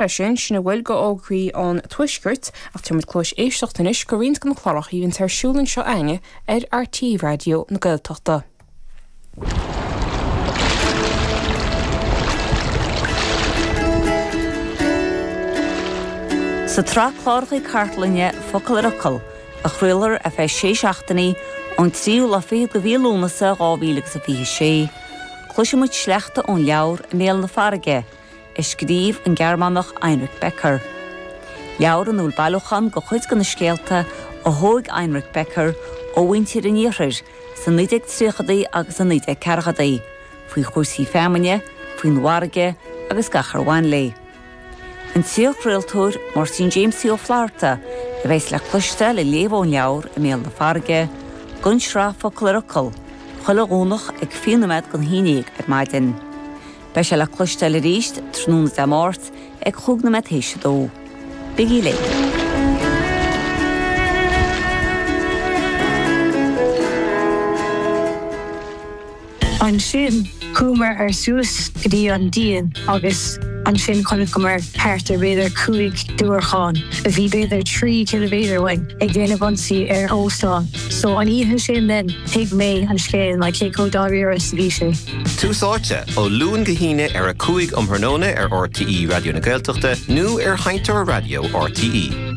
Leis sin, sin a bhfuil de fhógraí an Tuaiscirt, ach tabharfaidh muid cluais éisteachta anois go roinnt de na cláracha a bhíonns ar siúl anseo againne ar RTÉ Raidió na Gaeltachta. Sa tsraith cláracha cartlainne Focal ar Fhocal, a chraolfar ar feadh sé seachtainí ón tríú lá fichead de mhí Lúnasa 2026, cloisfidh muid sleachta ón leabhar I mBéal na Farraige, a scríobh an Gearmánach Heinrich Becker. Leabhar ina bhfuil bailiúchán de chuid de na scéalta a thóg Heinrich Becker ó mhuintir an iarthair sna 1930idí agus sna 1940idí, faoi chúrsaí feamainne, faoin bhfarraige agus gach ar bhain léi. An t-iarchraoltóir Máirtín Jamesie Ó Flatharta a bheas le cloisteáil ag léamh ón leabhar I mBéal na Farraige don tsraith Focal ar Fhocal, chuile Dhomhnach ag 20 nóiméad don haon dhéag ar maidin. Beidh sé le cloisteáil arís tráthnóna Dé Máirt ag chúig nóiméad théis a dó. Bígí linn! Ansin chuamar ar suas go dtí an díon agus ansin chonaiceamar thart ar b'fhéidir 5 diúracán a bhí b'fhéidir 3 ciliméadar uainn ag déanamh ionsaí ar óstán. So an oíche sin then thuig mé an scéal like cé chomh dáiríre is a bhí sé. Tús Áite, ó Luan go hAoine ar 5 um thráthnóna ar RTÉ Raidió na Gaeltachta nó ar Sheinnteoir Raidió RTÉ.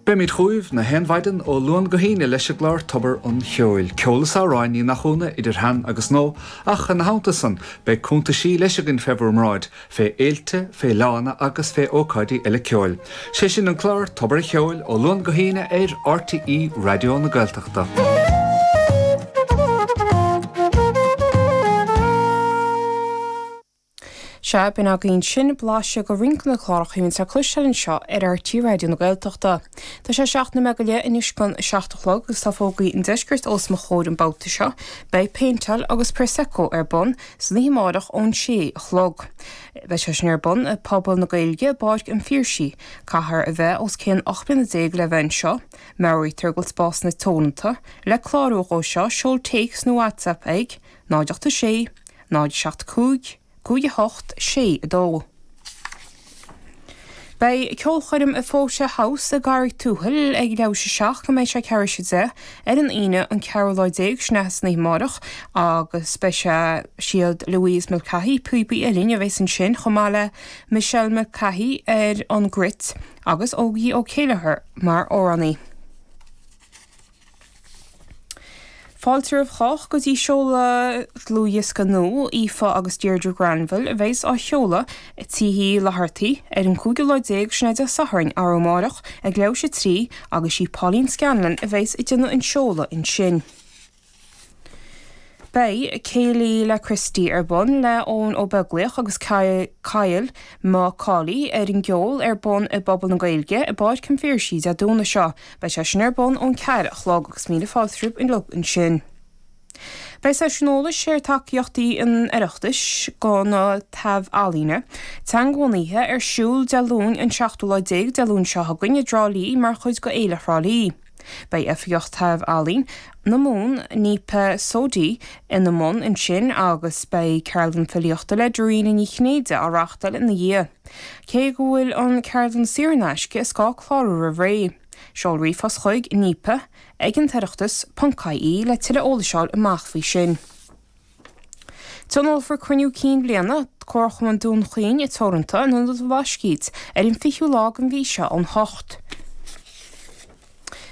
Beimid chugaibh na haon mhaidin ó Luan go hAoine leis an gclár Tobar an Cheoil. Ceol is amhráin, ní nach ionadh, idir shean agus nua, ach ina theannta san, beidh cuntaisí leis againn fé bhur mbráid, fé fhéilte, fé fhleánna agus fé ócáidí eile ceoil. Sé sin an clár Tobar an Cheoil ó Luan go hAoine ar RTÉ Raidió na Gaeltachta. Sea, b'in againn sin blaiseadh de roinnt de na cláracha a bhíonns le cloisteáil anseo ar RTÉ Raidió na Gaeltachta. Tá sé 7 nóiméad go leith anois don 7 a chlog agus tá fógraí an deiscirt os mo chomhair an babhta seo. Beidh péinteáil agus Prosecco ar bun san oíche amárach ón 6 a chlog. Beidh sé sin ar bun i Pobal na Gaeilge i bPáirc an Phiarsaigh. Caithfear a bheith os cionn 18 bliana le bheith anseo. Meabhraítear go bhfuil spásanna teoranta. Le clárú dhó seo, seol téacs nó WhatsApp ag, 0 8 6 0 7 5 5 8 6 2. Beidh ceolchoirm i Fota House i gCarraig Tuathail ag leathuair théis a 7 go mbeidh sé ceathrú théis a 10 ar an Aoine an ceathrú lá déag, sin é san oíche amárach agus beidh sé siad Louise Mulcahy, píobaí uilleann, a bheas ansin chomh maith le Michelle Mulcahy ar an gcruit agus Ógie Ó Céilleachair mar amhránaí. Fáilte roimh chách go dtí seoladh dlúthdhiosca nua Aoife agus Deirdre Granville a bheas á sheoladh i Tigh Uí Fhlathartaigh ar an cúigiú lá déag, sin é Dé Sathairn, arú amárach, ag leathuair théis a 3 agus sí Pauline Scanlon a bheas ag déanamh an seoladh ansin. Beidh Céilí le Christy ar bun le Eoin Ó Beaglaoich agus Kyle McCauley ar an gceol ar bun i bPuball na Gaeilge i bPáirc an Phiarsaigh Dé Domhnaigh seo. Beidh sé sin ar bun ón 4 a chlog agus míle fáilte romhaibh uilig ansin. Beidh seisiún eolais ar tacaíochtaí an Oireachtais do na taibh-ealaíona teangabhunaithe ar siúl Dé Luain an seachtú lá déag Dé Luain seo chugainn i dTrá Lí mar chuid de Fhéile Thrá Lí. Beidh Oifigeach Taibh-Ealaíon na Mumhan, Nipa Sodhi, ina mbun ansin agus beidh ceardlann filíochta le Dairena Ní Chinnéide á reáchtáil ina dhiaidh. Cé go bhfuil an ceardlann saor in aisce, is gá clárú roimh ré. Seol ríomhphost chuig nipa ag an toireachtas ponc ie le tuilleadh eolais a fháil amach faoi sin. Tionólfar Cruinniú Cinn Bhliana Comharchumann Dún Chaoin Teoranta in Ionad an Bhlascaoid ar an 20ú lá den mhí seo ón 8.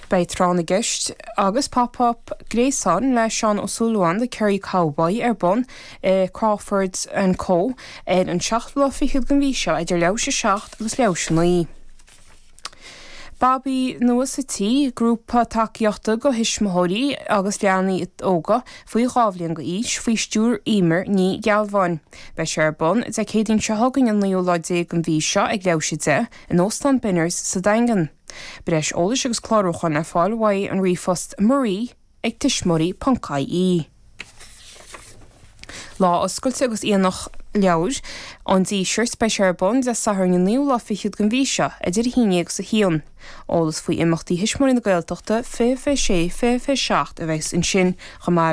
Beidh Tráth na gCeist agus Pop Up Gréasáin le Seán Ó Súilleabháin The Kerry Cowboy ar bun i Crawford and Co ar an seachtú lá fichead den mhí seo idir leathuair théis a 7 agus leathuair théis a 9. Babaí Nua sa Tí, grúpa tacaíochta do thuismitheoirí agus leanaí óga faoi 2 bhliain d'aois, faoi stiúir Eimear Ní Ghealbháin. Beidh sé ar bun Dé Céadaoin seo chugainn an naoú lá déag den mhí seo ag leathuair théis a 10 in Óstán Benners sa Daingean. Breis eolais agus clárúcháin le fáil uaidh an ríomhphost marie ag tuismitheoirí ponc ie. Lá oscailte agus aonach. Leabhar an Dísirt, beidh sé ar bun Dé Sathairn an naoú lá fichead den mhí seo, idir 11 agus 1. Eolas faoi imeachtaí Thuismitheoirí na Gaeltachta 20 26, 20 27 a bheas ansin chomh maith.